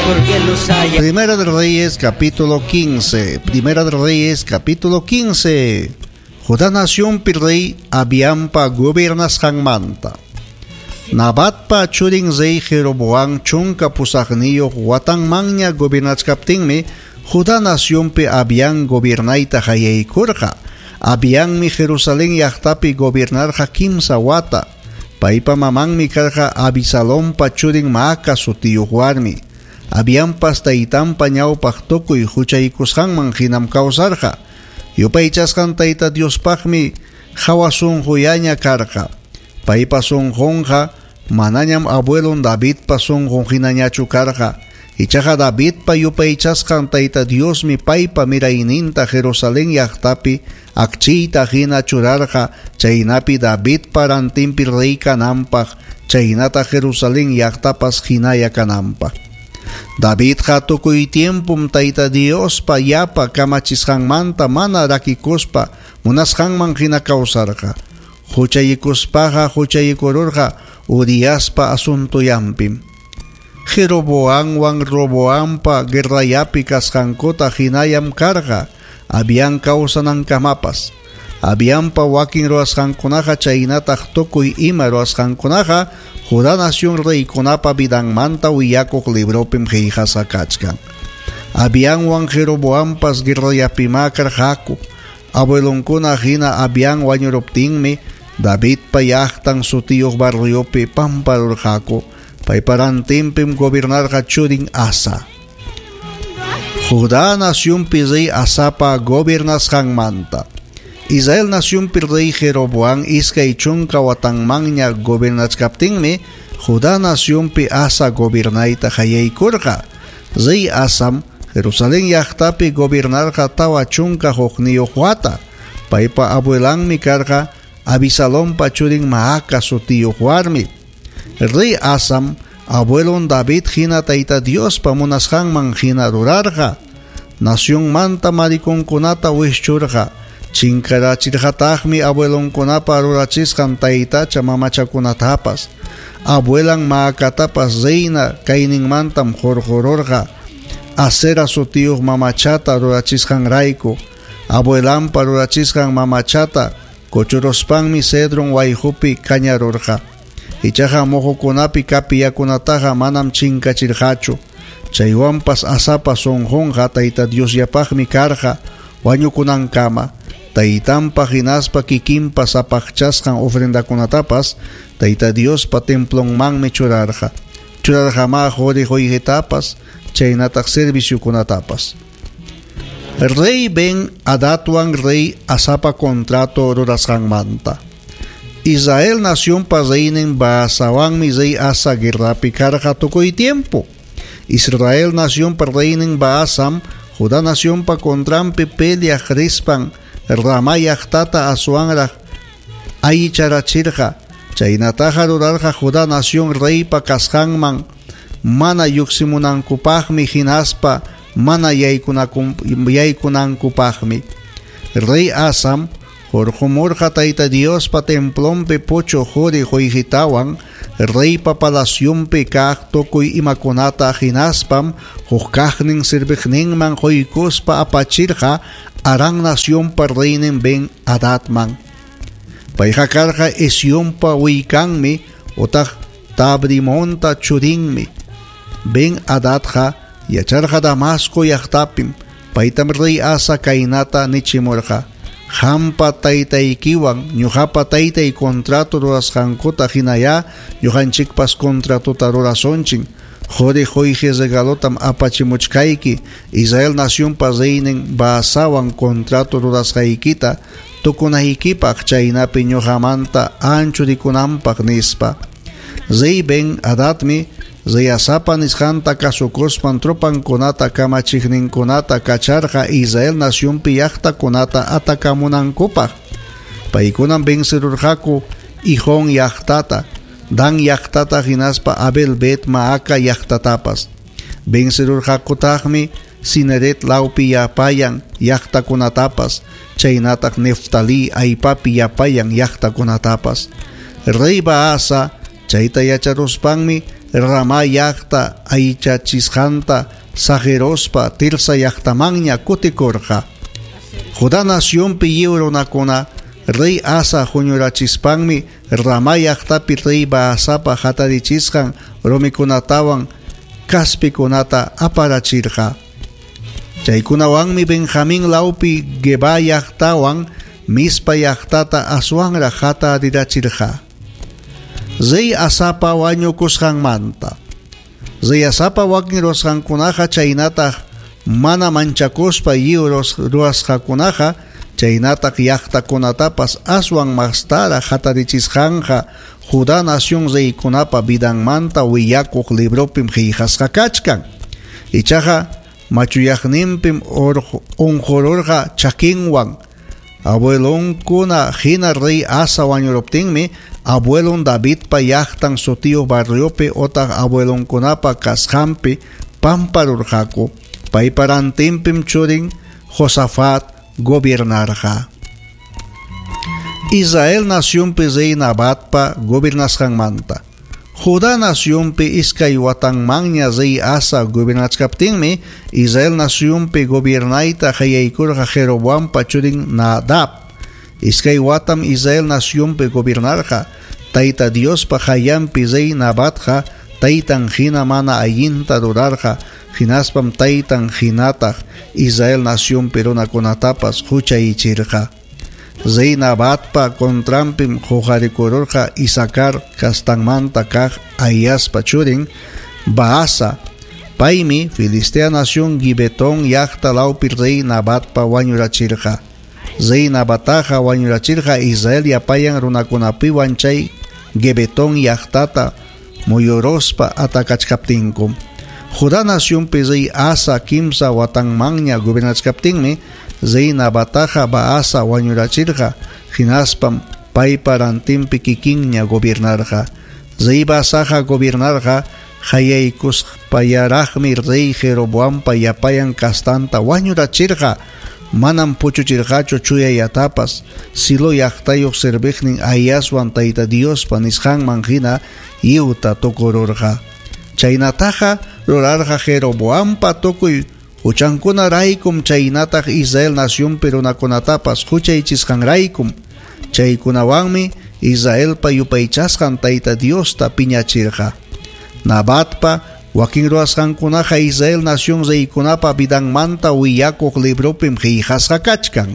Porque los hay. Primera de Reyes capítulo 15. Primera de Reyes capítulo 15. Judá nacionpi rey Abiampa gobernasqanmanta. Nabatpa churin rey Jeroboam 18 watanmanña gobernachkaptinmi Judá nacionpi Abián gobernayta qallaykurqa. Abianmi Jerusalén llaqtapi gobernarqa 3 wata. Paypa mamanmi karqa Abisalompa churin Maaca sutiyuq warmi. Abianpas taytanpa ñawpaq tukuy huchaykusqanman hinam kawsarqa. Yupaychasqan Tayta Diospaqmi hawa sunquyaña karqa. Paypa sunqunqa manañam abuelon Davidpa sunqun hinañachu karqa. Ichaqa Davidpa yupaychasqan Tayta Diosmi paypa mirayninta Jerusalén llaqtapi akchiyta hina churarqa, chaynapi Davidpa rantinpi rey kananpaq, chaynata Jerusalén llaqtapas hinaya kananpaq. Davidqa tukuy tiempum Tayta Diospa yapa kamachisqanmanta mana rakikuspa munasqanman hina kawsarqa. Huchayikuspaqa huchayikururqa Uriaspa asuntoyanpim. Jeroboamwan Roboampa guerrayapi kasqankuta hinayam karqa Abián kawsanankamapas. Abianpa wakin ruwasqankunaqa chaynataq tukuy ima ruwasqankunaqa Judá nación reykunapa vidanmanta willakuq libropim qillqasqa kachkan. Abianwan Jeroboampas guerrayapimá karqaku. Abuelonkuna hina Abián wañuruptinmi Davidpa llaqtan sutiyuq barriopi pamparurqaku. Paypa rantinpim gobernarqa churin Asa. Judá nacionpi rey Asapa gobernasqanmanta. Israel nacionpi rey Jeroboam 20 watanmanña gobernachkaptinmi Judá nacionpi Asa gobernayta qallaykurqa. Rey Asam Jerusalén llaqtapi gobernarqa 41 wata. Paypa abuelanmi karqa Abisalompa churin Maaca sutiyuq warmi. Rey Asam abuelon David hina Tayta Diospa munasqanman hina rurarqa. Nacionmanta marikonkunata wischurqa. Chinkarachirqataqmi abuelonkunapa rurachisqan taytacha mamachakunatapas. Abuelan Maacatapas reina kayninmantam hurqururqa. Asera sutiyuq mamachata rurachisqanrayku. Abuelanpa rurachisqan mamachata kuchuruspanmi Cedron wayqupi kañarurqa. Ichaqa muhukunapi kapiyakunataqa manam chinkachirqachu. Chaywanpas Asapa sunqunqa Tayta Diosllapaqmi karqa wañukunankama. Taytanpa hinaspa kikinpa sapaqchasqan ofrendakunatapas Tayta Diospa templonmanmi churarqa. Churarqamá quri qullqitapas chaynataq serviciokunatapas. Rey Ben Hadadwan rey Asapa contrato rurasqanmanta. Israel nacionpa reynin Baasawanmi rey Asa guerrapi karqa tukuy tiempo. Israel nacionpa reynin Baasam Judá nacionpa contranpi peleaq rispan Ramá llaqtata aswanraq aycharachirqa. Chaynataqa rurarqa Judá nación reypa kasqanman mana lluqsimunankupaqmi hinaspa mana yaykunankupaqmi. Rey Asam hurqumurqa Tayta Diospa templonpi puchuq quri qullqitawan reypa palacionpi kaq tukuy imakunata hinaspam huk kaqnin serviqninman quykuspa apachirqa Aram nacionpa reynin Ben Hadadman. Payqa karqa Esionpa willkanmi utaq Tabrimonta churinmi. Ben Hadadqa yacharqa Damasco llaqtapim. Paytam rey Asa kaynata nichimurqa: Qampa taytaykiwan ñuqapa taytay contrato rurasqankuta hinaya ñuqanchikpas contratota rurasunchik. Quri qullqi regalotam apachimuchkayki Israel nacionpa reynin Baasawan contrato rurasqaykita tukunaykipaq chaynapi ñuqamanta anchurikunanpaq nispa. Rey Ben Hadadmi rey Asapa nisqanta kasukuspan tropankunata kamachiqninkunata kacharqa Israel nacionpi llaqtakunata atakamunankupaq. Paykunam vencerurqaku Ijón llaqtata, Dan llaqtata hinaspa Abel Bet Maaca llaqtatapas. Vencerurqakutaqmi Cineret lawpi yapayan llaqtakunatapas, chaynataq Neftalí aypapi yapayan llaqtakunatapas. Rey Baasa chayta yacharuspanmi Ramá llaqta aychachisqanta saqiruspa Tirsa llaqtamanña kutikurqa. Judá nacionpi lliw runakuna rey Asa huñurachispanmi Ramá llaqtapi rey Baasapa hatarichisqan rumikunatawan kaspikunata aparachirqa. Chaykunawanmi Benjamín lawpi Geba llaqtawan Mizpa llaqtata aswanraq hatarirachirqa. Rey Asapa wañukusqanmanta. Rey Asapa wakin ruwasqankunaqa chaynataq mana manchakuspa lliw ruwasqakunaqa chaynataq llaqtakunatapas aswan mastaraq hatarichisqanqa Judá nación reykunapa vidanmanta willakuq libropim qillqasqa kachkan. Ichaqa machuyaqninpim unqururqa chakinwan. Abuelonkuna hina rey Asa wañuruptinmi abuelon Davidpa llaqtan sutiyuq barriopi otaq abuelonkunapa kasqanpi pamparurqaku. Paypa rantinpim churin Josafat gobiernarqa. Israel nacionpi rey Nabatpa gobernasqanmanta. Judá nacionpi iskay watanmanña rey Asa gobernachkaptinmi Israel nacionpi gobiernayta qallaykurqa Jeroboampa churin Nadab. Iskay watam Israel nacionpi gobernarqa. Tayta Diospa qayllanpi rey Nabatqa taytan hina mana allinta rurarqa, hinaspam taytan hinataq Israel nacionpi runakunatapas huchayichirqa. Rey Nabatpa contranpim huqarikururqa Isakar kastanmanta kaq Ahiaspa churin Baasa. Paymi Filistea nación Gibetón llaqta lawpi rey Nabatpa wañurachirqa. Rey Nabataqa wañurachirqa Israel llapayan runakunapiwan chay Gibetón llaqtata muyuruspa atakachkaptinku. Judá nacionpi rey Asa kimsa watanmanña gobernachkaptinmi rey Nabataqa Baasa wañurachirqa, hinaspam paypa rantinpi kikinña gobernarqa. Rey Baasaqa gobernarqa qallaykuspallaraqmi rey Jeroboampa llapayan kastanta wañurachirqa. Manam puchuchirqachu chuyayatapas Silo llaqtayuq serviqnin Ahiaswan Tayta Diospa nisqanman hina lliwta tukururqa. Chaynataqa rurarqa Jeroboampa tukuy huchankunaraykum chaynataq Israel nacionpi runakunatapas huchaychisqanraykum. Chaykunawanmi Israelpa yupaychasqan Tayta Diosta piñachirqa. Nabatpa wakin ruwasqankunaqa Israel nación reykunapa vidanmanta willakuq libropim qillqasqa kachkan.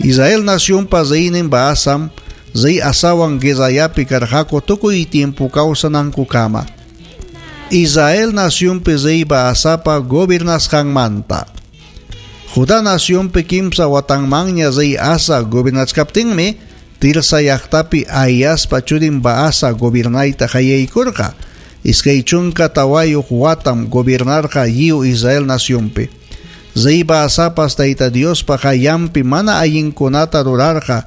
Israel nacionpa reynin Baasam rey Asawan guerrayapi karqaku tukuy tiempo kawsanankukama. Israel nacionpi rey Baasapa gobernasqanmanta. Judá nacionpi kimsa watanmanña rey Asa gobernachkaptinmi Tirsa llaqtapi Ahiaspa churin Baasa gobernayta qallaykurqa. Iskay chunka tawayuq watam gobernarqa lliw Israel nacionpi. Rey Baasapas Tayta Diospa qayllanpi mana allinkunata rurarqa.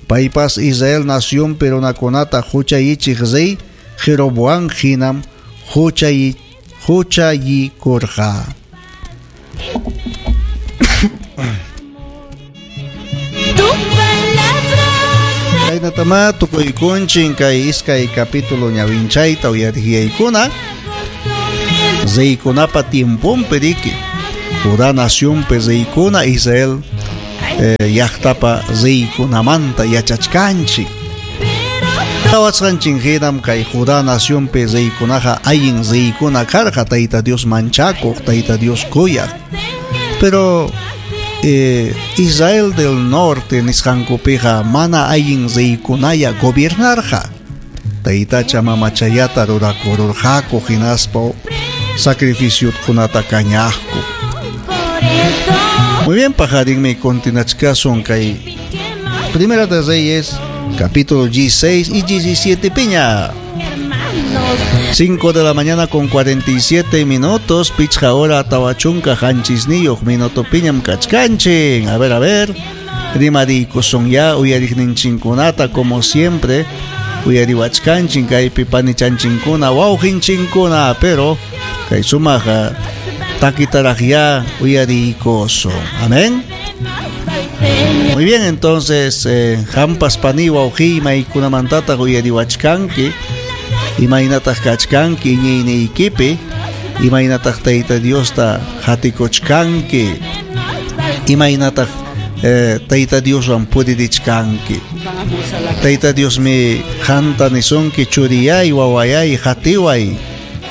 Paypas Israel nacionpi runakunata huchayichiq rey Jeroboam hinam huchayikurqa. Chaynatama tukuykunchin kay iskay capítulo ñawinchayta uyarihiyaykuna. Reykunapa tiemponpi riki Judá nacionpi reykuna Israel llaqtapa reykunamanta yachachkanchik. Qhawasqanchin hinam kay Judá nacionpi reykunaqa allin reykuna karqa, Tayta Dios manchakuq, Tayta Dios kuyaq. Pero Israel del Norte nisqankupiqa mana allin reykunaya gobiernarqa. Taytacha mamachayata rurakururqaku hinaspa sacrificiokunata kañaqku. Muy bien, pajarinmi continuachkasun kay Primera de Reyes, capítulo 16 y 17 piña. 5 de la mañana con 47 minutos, pichja hora tawachunka hanchisniyuq minuto piñam kachkanchin. A ver, rimarikusun ya uyariqninchinkunata como siempre, uyariwachkanchin kaypi panichanchinkuna, wawqinchinkuna, pero kay sumaq takitaraq ya uyarikusun. Amén. Muy bien, entonces, hampas pani wawqi maykunamantataq uyariwachkanki. Imaynataq kachkanki iñiyniykipi? Imaynataq Tayta Diosta qatikuchkanki? Imaynataq Tayta Dioswan puririchkanki? Tayta Diosmi qanta nisunki, churiyay, wawayay, qatiway,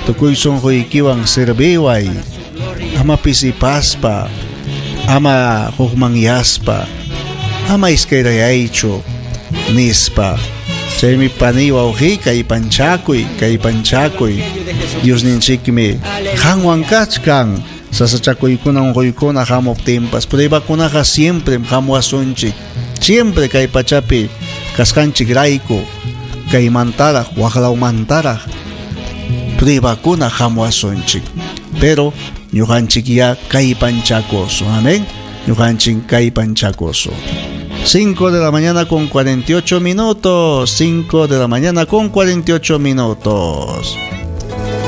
tukuy sunquykiwan serviway, ama pisipaspa, ama hukmanyaspa, ama iskayrayaychu, nispa. Chaymi paniy wawqiy kallpanchakuy, kallpanchakuy. Diosninchikmi qanwan kachkan. Sasachakuykuna unquykuna hamuptinpas pruebakunaqa siemprem hamuwasunchik. Siempre kay pachapi kasqanchikrayku kaymantaraq waqlawmantaraq pruebakuna hamuwasunchik. Pero ñuqanchikyá kallpanchakusun. Amén. Ñuqanchik kallpanchakusun. 5 de la mañana con 48 minutos. 5 de la mañana con 48 minutos.